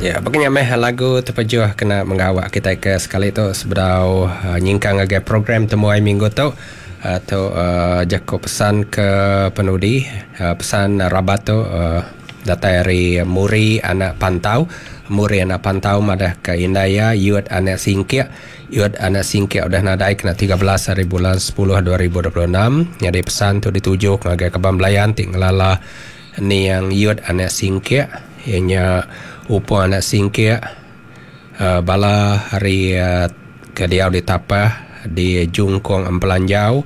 Ya, baka nya meh lagu tepejuh kena menggawa kitai ke sekali tu sebedau nyingkang ngagai program temuai minggu tu. Tu jaku pesan ke penudi pesan rabat tu datai ari Muri anak Pantau. Muri anak Pantau madah ke indai iya Yut anak Singkik. Yut anak Singkik udah nadai kena 13 hari bulan 10 2026. Nyadi pesan tu dituju ngagai kaban belayan ti ngelala Niang Yut anak Singkik iya nya Upong anak Singkik bala ari ke diau di Tapah di Jungkong Empelanjau,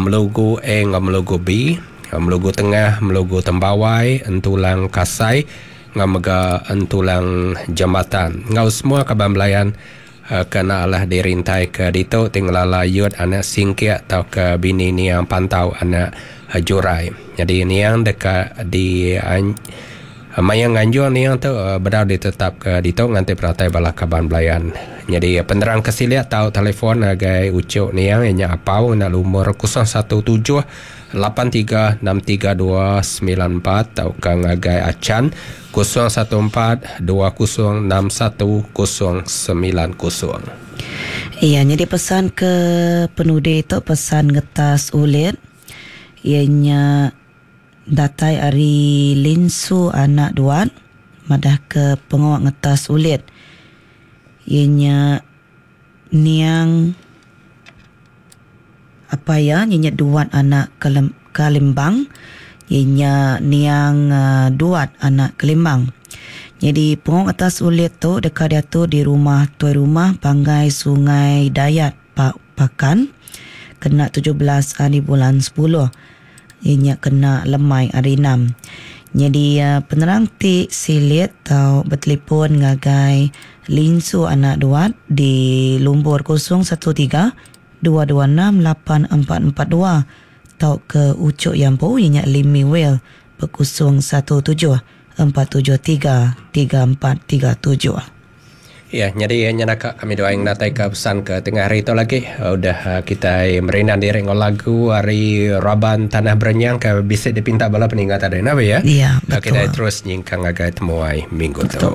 Melugu A enggau Melugu B, Melugu Tengah, Melugu Tembawai, Entulang Kasai enggau mega Entulang Jambatan enggau semua kaban belayan ke enda alah dirintaika ditu ti ngelala Yut anak Singkik tauka bini Niang Pantau anak Jurai. Nyadi Niang deka di maya nganjung Niang tu bedau ditetapka ditu nganti penatai bala kaban belayan. Nyadi penerang ke silik tau telefon ngagai uchu Niang iya nya Apau ngena lumur 017 83632 94 tauka ngagai Achan 014 2061 090. Iya nyadi pesan ke penudi tu pesan ngetas ulit iya nya datai ari Linsu anak Duat madah ke pengawa ngetas ulit iya nya Niang apai iya nya nya Duat anak Kalimbang iya nya niang Duat anak Kalimbang. Nyadi pengong atas ulit tu deka diatur di rumah Tuai Rumah Panggai Sungai Dayat Pakan kena 17 hari bulan 10 iya nya kena lemai hari enam. Nyadi penerang ti silik tau betelefon ngagai Linsu anak Duat di lumbur 013 226 8442 tauka Uchuk Yampu iya nya Limi Will ba 017 473 3437. Iya, nyadi nya naka kami duai ngenataika pesan ke tengah hari tu lagi. Udah kitai merindang diri enggau lagu ari raban Tanah Berenyang ke bisi dipinta bala peninga tadi nah ya. Iya, betul. Kitai terus nyingkang ngagai temuai minggu tu.